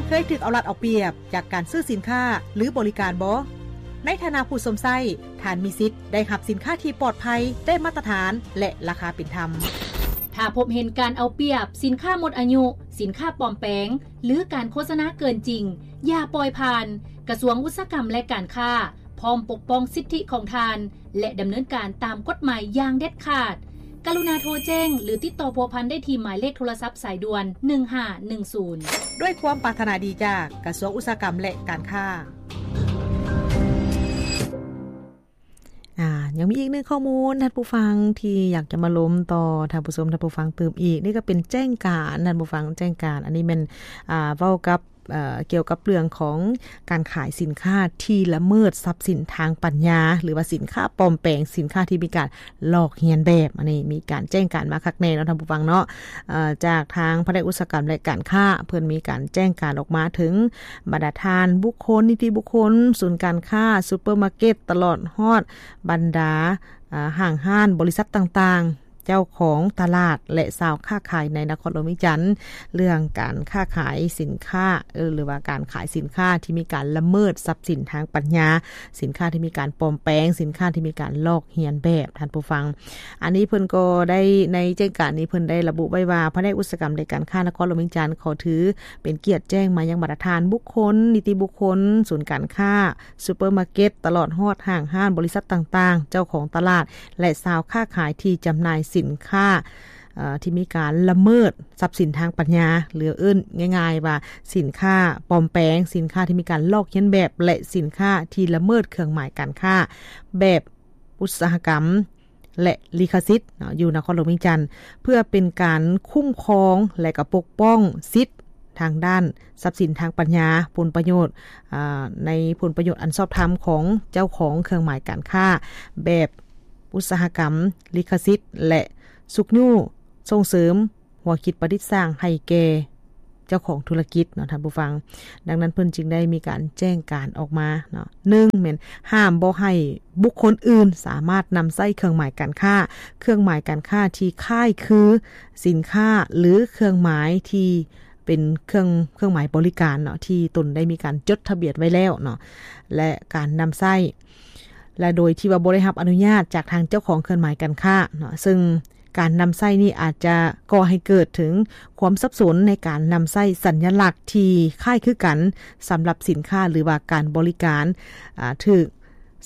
ເຄີຍຖືກເອົາລັດເອົາປຽບຈາກການຊື້ສິນຄ້າ ຫຼື ບໍລິການບໍ່? ໃນຖານະຜູ້ຊົມໃຊ້, ທ່ານມີສິດໄດ້ຮັບສິນຄ້າທີ່ປອດໄພ, ໄດ້ມາດຕະຖານ ແລະ ລາຄາເປັນທຳ. ຖ້າພົບເຫັນການເອົາປຽບ, ສິນຄ້າໝົດອາຍຸ, ສິນຄ້າປອມແປງ ຫຼື ການໂຄສະນາເກີນຈິງ, ຢ່າປ່ອຍຜ່ານ. ກະຊວງອຸດສາຫະກຳ ແລະ ການຄ້າ ພ້ອມປົກປ້ອງສິດທິຂອງທ່ານ ແລະ ດຳເນີນການຕາມກົດໝາຍຢ່າງເດັດຂາດ. ກະລຸນາໂທແຈ້ງ ຫຼື ຕິດຕໍ່ພົວພັນໄດ້ທີ່ໝາຍເລກໂທລະສັບສາຍດ່ວນ ໜຶ່ງຫ້າໜຶ່ງສູນ ດ້ວຍຄວາມປາດຖະໜາດີຈາກກະຊວງອຸດສາຫະກຳ ແລະ ການຄ້າ. ອາ ຍັງມີອີກໜຶ່ງຂໍ້ມູນ ທ່ານຜູ້ຟັງທີ່ຢາກຈະມາລົມຕໍ່ທ່ານຜູ້ຊົມ ທ່ານຜູ້ຟັງຕື່ມອີກ. ນີ້ກໍເປັນແຈ້ງການ ທ່ານຜູ້ຟັງ ແຈ້ງການ ອັນນີ້ແມ່ນ ອາ ເວົ້າກັບ ເອີ ກ່ຽວກັບເລື່ອງຂອງການຂາຍສິນຄ້າທີ່ລະເມີດຊັບສິນທາງປັນຍາ ຫຼືວ່າສິນຄ້າປອມແປງ, ສິນຄ້າທີ່ມີການລອກລຽນແບບ. ອັນນີ້ມີການແຈ້ງການມາຄັກແນ່ເນາະ ທ່ານຜູ້ຟັງເນາະ. ເອີ ຈາກທາງພະແນກອຸດສາຫະກຳ ແລະ ການຄ້າ ເພິ່ນມີການແຈ້ງການອອກມາເຖິງບັນດາທ່ານບຸກຄົນ, ນິຕິບຸກຄົນ, ສູນການຄ້າ, ຊຸບເປີມາເກັດ, ຕະຫຼອດຮອດບັນດາ ອາ ຫ້າງຮ້ານ, ບໍລິສັດຕ່າງໆ, ເຈົ້າຂອງຕະຫຼາດ ແລະ ຊາວຄ້າຂາຍໃນນະຄອນຫຼວງວຽງຈັນ ເລື່ອງການຄ້າຂາຍສິນຄ້າ ເອີ ຫຼືວ່າການຂາຍສິນຄ້າທີ່ມີການລະເມີດຊັບສິນທາງປັນຍາ, ສິນຄ້າທີ່ມີການປອມແປງ, ສິນຄ້າທີ່ມີການລອກລຽນແບບ ທ່ານຜູ້ຟັງ. ອັນນີ້ເພິ່ນກໍໄດ້ ໃນແຈ້ງການນີ້ເພິ່ນໄດ້ລະບຸໄວ້ວ່າ ພະແນກອຸດສາຫະກຳ ແລະ ການຄ້ານະຄອນຫຼວງວຽງຈັນ ຂໍຖືເປັນກຽດແຈ້ງມາຍັງບັນດາທ່ານບຸກຄົນ, ນິຕິບຸກຄົນ, ສູນການຄ້າ, ຊຸບເປີມາເກັດ, ຕະຫຼອດຮອດຫ້າງຮ້ານ, ບໍລິສັດຕ່າງໆ, ເຈົ້າຂອງຕະຫຼາດ ແລະ ຊາວຄ້າຂາຍທີ່ຈຳໜ່າຍສິນຄ້າ ເອີ ທີ່ມີການລະເມີດຊັບສິນທາງປັນຍາ ຫຼື ເອີ້ນງ່າຍໆວ່າສິນຄ້າປອມແປງ, ສິນຄ້າທີ່ມີການລອກລຽນແບບ ແລະ ສິນຄ້າທີ່ລະເມີດເຄື່ອງໝາຍການຄ້າແບບອຸດສາຫະກຳ ແລະ ລິຂະສິດເນາະ ຢູ່ນະຄອນຫຼວງວຽງຈັນ ເພື່ອເປັນການຄຸ້ມຄອງ ແລະ ກໍປົກປ້ອງສິດທາງດ້ານຊັບສິນທາງປັນຍາ, ຜົນປະໂຫຍດ ອາ ໃນຜົນປະໂຫຍດອັນຊອບທຳຂອງເຈົ້າຂອງເຄື່ອງໝາຍການຄ້າແບບອຸດສາຫະກຳ, ລິຂະສິດ ແລະ ຊຸກຍູ້ສົ່ງເສີມ ຫົວຄິດປະດິດສ້າງໃຫ້ແກ່ເຈົ້າຂອງທຸລະກິດເນາະ ທ່ານຜູ້ຟັງ. ດັ່ງນັ້ນເພິ່ນຈຶ່ງໄດ້ມີການແຈ້ງການອອກມາເນາະ ໜຶ່ງແມ່ນຫ້າມບໍ່ໃຫ້ບຸກຄົນອື່ນສາມາດນຳໃຊ້ເຄື່ອງໝາຍການຄ້າ, ເຄື່ອງໝາຍການຄ້າທີ່ຄ້າຍຄືສິນຄ້າ ຫຼື ເຄື່ອງໝາຍທີ່ເປັນເຄື່ອງ ເຄື່ອງໝາຍບໍລິການເນາະ ທີ່ຕົນໄດ້ມີການຈົດທະບຽນໄວ້ແລ້ວເນາະ ແລະ ການນຳໃຊ້ ແລະ ໂດຍທີ່ວ່າບໍ່ໄດ້ຮັບອະນຸຍາດຈາກທາງເຈົ້າຂອງເຄື່ອງໝາຍການຄ້າເນາະ ເຊິ່ງ ການນຳໃຊ້ນີ້ອາດຈະກໍ່ໃຫ້ເກີດເຖິງຄວາມສັບສົນໃນການນຳໃຊ້ສັນຍະລັກທີ່ຄ້າຍຄືກັນສຳລັບສິນຄ້າ ຫຼືວ່າການບໍລິການ ອາ ຖືກ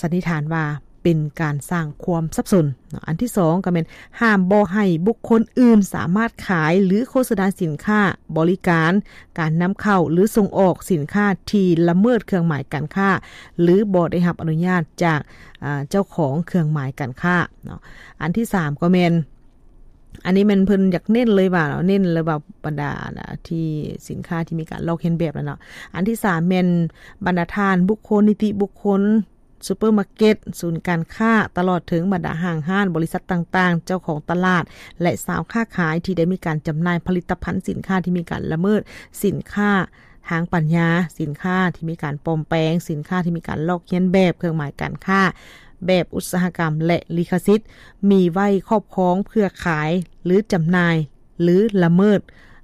ສັນນິຖານວ່າເປັນການສ້າງຄວາມສັບສົນເນາະ. ອັນທີສອງກໍແມ່ນ ຫ້າມບໍ່ໃຫ້ບຸກຄົນອື່ນສາມາດຂາຍ ຫຼື ໂຄສະນາສິນຄ້າ, ບໍລິການ, ການນຳເຂົ້າ ຫຼື ສົ່ງອອກສິນຄ້າທີ່ລະເມີດເຄື່ອງໝາຍການຄ້າ ຫຼື ບໍ່ໄດ້ຮັບອະນຸຍາດຈາກ ອາ ເຈົ້າຂອງເຄື່ອງໝາຍການຄ້າເນາະ. ອັນທີສາມກໍແມ່ນ ອັນນີ້ແມ່ນເພິ່ນຢາກເນັ້ນເລີຍວ່າ ເນັ້ນເລີຍວ່າບັນດາ ອາ ທີ່ສິນຄ້າທີ່ມີການລອກລຽນແບບແລ້ວເນາະ. ອັນທີສາມແມ່ນບັນດາທ່ານບຸກຄົນ, ນິຕິບຸກຄົນ, ຊຸບເປີມາເກັດ, ສູນການຄ້າ, ຕະຫຼອດເຖິງບັນດາຫ້າງຮ້ານ, ບໍລິສັດຕ່າງໆ, ເຈົ້າຂອງຕະຫຼາດ ແລະ ຊາວຄ້າຂາຍທີ່ໄດ້ມີການຈຳໜ່າຍຜະລິດຕະພັນສິນຄ້າທີ່ມີການລະເມີດສິນຄ້າ ທາງປັນຍາ, ສິນຄ້າທີ່ມີການປອມແປງ, ສິນຄ້າທີ່ມີການລອກລຽນແບບເຄື່ອງໝາຍການຄ້າແບບອຸດສາຫະກຳ ແລະ ລິຂະສິດ ມີໄວ້ຄອບຄອງເພື່ອຂາຍ ຫຼື ຈຳໜ່າຍ ຫຼື ລະເມີດ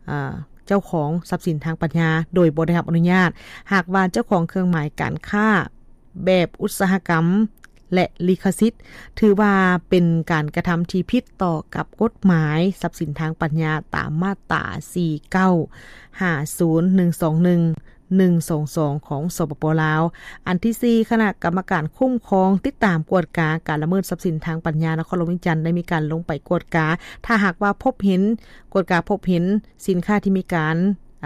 ອາ ເຈົ້າຂອງຊັບສິນທາງປັນຍາໂດຍບໍ່ໄດ້ຮັບອະນຸຍາດ. ຫາກວ່າເຈົ້າຂອງເຄື່ອງໝາຍການຄ້າແບບອຸດສາຫະກຳ ແລະ ລິຂະສິດ ຖືວ່າເປັນການກະທຳທີ່ຜິດຕໍ່ກັບກົດໝາຍຊັບສິນທາງປັນຍາຕາມມາດຕາ ສີ່ເກົ້າ ຫ້າສູນ ໜຶ່ງສອງໜຶ່ງ ໜຶ່ງສອງສອງ ຂອງ ສປປ ລາວ. ອັນທີສີ່ ຄະນະກຳມະການຄຸ້ມຄອງ, ຕິດຕາມ, ກວດກາການລະເມີດຊັບສິນທາງປັນຍານະຄອນຫຼວງວຽງຈັນ ໄດ້ມີການລົງໄປກວດກາ. ຖ້າຫາກວ່າພົບເຫັນ, ກວດກາພົບເຫັນສິນຄ້າທີ່ມີການ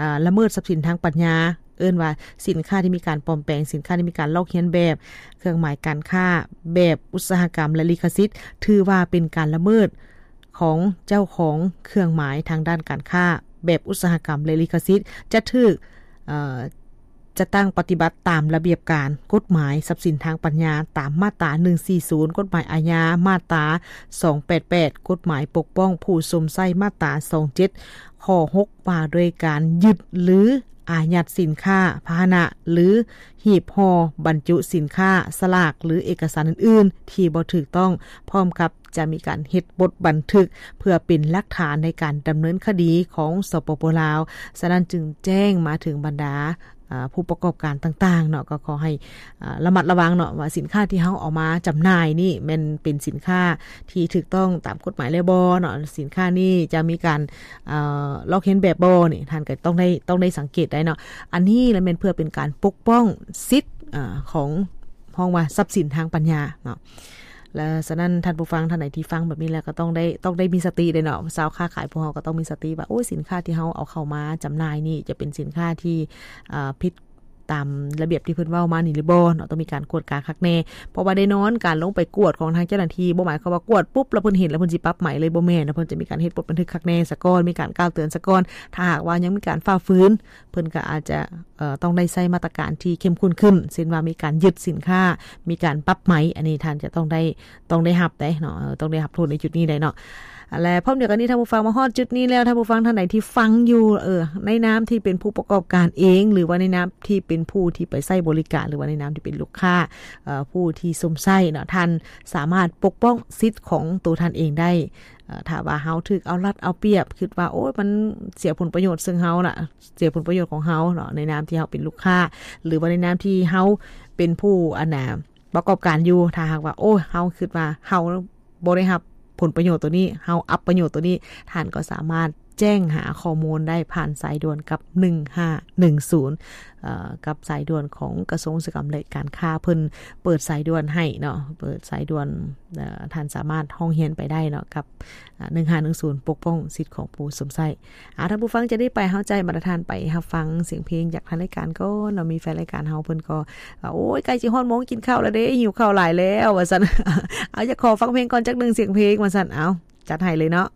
ອາ ລະເມີດຊັບສິນທາງປັນຍາ, ເອີ້ນວ່າສິນຄ້າທີ່ມີການປອມແປງ, ສິນຄ້າທີ່ມີການລອກລຽນແບບເຄື່ອງໝາຍການຄ້າແບບອຸດສາຫະກຳ ແລະ ລິຂະສິດ ຖືວ່າເປັນການລະເມີດຂອງເຈົ້າຂອງເຄື່ອງໝາຍທາງດ້ານການຄ້າແບບອຸດສາຫະກຳ ແລະ ລິຂະສິດ ຈະຖືກ ເອີ ຈະຕັ້ງປະຕິບັດຕາມລະບຽບການກົດໝາຍຊັບສິນທາງປັນຍາ ຕາມມາດຕາ ໜຶ່ງສີ່ສູນ ກົດໝາຍອາຍາ, ມາດຕາ ສອງແປດແປດ ກົດໝາຍປົກປ້ອງຜູ້ຊົມໃຊ້, ມາດຕາ ສອງເຈັດ ຂໍ້ຫົກ ວ່າດ້ວຍການຍຶດ ຫຼື ອາຍັດສິນຄ້າ, ພາຫະນະ ຫຼື ຮີບຫໍ່ບັນຈຸສິນຄ້າ, ສະຫຼາກ ຫຼື ເອກະສານອື່ນໆ ທີ່ບໍ່ຖືກຕ້ອງ, ພ້ອມກັບຈະມີການເຮັດບົດບັນທຶກ ເພື່ອເປັນຫຼັກຖານໃນການດຳເນີນຄະດີຂອງ ສປປ ລາວ. ສະນັ້ນຈຶ່ງແຈ້ງມາເຖິງບັນດາ ອາ ຜູ້ປະກອບການຕ່າງໆເນາະ ກໍຂໍໃຫ້ ອາ ລະມັດລະວັງເນາະ ວ່າສິນຄ້າທີ່ເຮົາເອົາມາຈຳໜ່າຍນີ້ແມ່ນເປັນສິນຄ້າທີ່ຖືກຕ້ອງຕາມກົດໝາຍແລ້ວບໍ່ເນາະ, ສິນຄ້ານີ້ຈະມີການ ເອີ ລອກລຽນແບບບໍ່ນີ້ ທ່ານກໍຕ້ອງໄດ້ ຕ້ອງໄດ້ສັງເກດໄດ້ເນາະ. ອັນນີ້ລະແມ່ນເພື່ອເປັນການປົກປ້ອງສິດ ອາ ຂອງ ຮ້ອງວ່າຊັບສິນທາງປັນຍາເນາະ. ແລະ ສະນັ້ນທ່ານຜູ້ຟັງທ່ານໃດທີ່ຟັງແບບນີ້ແລ້ວ ກໍຕ້ອງໄດ້ ຕ້ອງໄດ້ມີສະຕິເດ້ເນາະ, ຊາວຄ້າຂາຍພວກເຮົາກໍຕ້ອງມີສະຕິວ່າ ໂອ້ຍ ສິນຄ້າທີ່ເຮົາເອົາເຂົ້າມາຈຳໜ່າຍນີ້ຈະເປັນສິນຄ້າທີ່ ອາ ຜິດຕາມລະບຽບທີ່ເພິ່ນເວົ້າມານີ້ຫຼືບໍ່ເນາະ, ຕ້ອງມີການກວດກາຄັກແນ່. ເພາະວ່າແນ່ນອນ ການລົງໄປກວດຂອງທາງເຈົ້າໜ້າທີ່ ບໍ່ໝາຍຄວາມວ່າກວດປຸບແລ້ວເພິ່ນເຫັນແລ້ວເພິ່ນຊິປັບໃໝເລີຍ, ບໍ່ແມ່ນເນາະ, ເພິ່ນຈະມີການເຮັດບົດບັນທຶກຄັກແນ່ສາກ່ອນ, ມີການກ່າວເຕືອນສາກ່ອນ. ຖ້າຫາກວ່າຍັງມີການຝ່າຝືນ ເພິ່ນກໍອາດຈະ ເອີ ຕ້ອງໄດ້ໃຊ້ມາດຕະການທີ່ເຂັ້ມຂຸ້ນຂຶ້ນ ເຊັ່ນວ່າມີການຍຶດສິນຄ້າ, ມີການປັບໃໝ, ອັນນີ້ທ່ານຈະຕ້ອງໄດ້ ຕ້ອງໄດ້ຮັບໄດ໋ເນາະ, ເອີ ຕ້ອງໄດ້ຮັບໂທດໃນຈຸດນີ້ໄດ໋ເນາະ. ແລະ ພ້ອມດຽວກັນນີ້ ທ່ານຜູ້ຟັງ ມາຮອດຈຸດນີ້ແລ້ວ, ທ່ານຜູ້ຟັງທ່ານໃດທີ່ຟັງຢູ່ ເອີ ໃນນາມທີ່ເປັນຜູ້ປະກອບການເອງ ຫຼືວ່າໃນນາມທີ່ເປັນຜູ້ທີ່ໄປໃຊ້ບໍລິການ ຫຼືວ່າໃນນາມທີ່ເປັນລູກຄ້າ ເອີ ຜູ້ທີ່ຊົມໃຊ້ເນາະ, ທ່ານສາມາດປົກປ້ອງສິດຂອງໂຕທ່ານເອງໄດ້. ເອີ ຖ້າວ່າເຮົາຖືກເອົາລັດເອົາປຽບ, ຄິດວ່າ ໂອ້ຍ ມັນເສຍຜົນປະໂຫຍດເຊິ່ງເຮົາລະ, ເສຍຜົນປະໂຫຍດຂອງເຮົາເນາະ ໃນນາມທີ່ເຮົາເປັນລູກຄ້າ ຫຼືວ່າໃນນາມທີ່ເຮົາເປັນຜູ້ ອັນນ່າ ປະກອບການຢູ່. ຖ້າຫາກວ່າ ໂອ້ຍ ເຮົາຄິດວ່າເຮົາບໍ່ໄດ້ຮັບຜົນປະໂຫຍດໂຕນີ້, ເຮົາອັບປະໂຫຍດໂຕນີ້, ທ່ານກໍສາມາດແຈ້ງຫາຂໍ້ມູນໄດ້ຜ່ານສາຍດ່ວນກັບ ໜຶ່ງຫ້າໜຶ່ງສູນ ເອີ ກັບສາຍດ່ວນຂອງກະຊວງອຸດສາຫະກຳ ແລະ ການຄ້າ. ເພິ່ນເປີດສາຍດ່ວນໃຫ້ເນາະ, ເປີດສາຍດ່ວນ, ເອີ ທ່ານສາມາດຮ້ອງຮຽນໄປໄດ້ເນາະ ກັບ ອາ ໜຶ່ງຫ້າໜຶ່ງສູນ ປົກປ້ອງສິດຂອງຜູ້ຊົມໃຊ້. ອາ ທ່ານຜູ້ຟັງ ຈະໄດ້ໄປ ເຮົາຈະໃຫ້ບັນດາທ່ານໄປຮັບຟັງສຽງເພງຈາກທາງລາຍການກ່ອນເນາະ. ມີແຟນລາຍການເຮົາເພິ່ນກໍ ໂອ້ຍ ໃກ້ຊິຮອດໂມງກິນເຂົ້າແລ້ວເດ້, ຫິວເຂົ້າຫຼາຍແລ້ວ ວ່າຊັ້ນ. ເອົາ ຢາກຂໍຟັງເພງກ່ອນຈັກໜຶ່ງສຽງເພງ ວ່າຊັ້ນ. ເອົາ ຈັດໃຫ້ເລີຍເນາະ.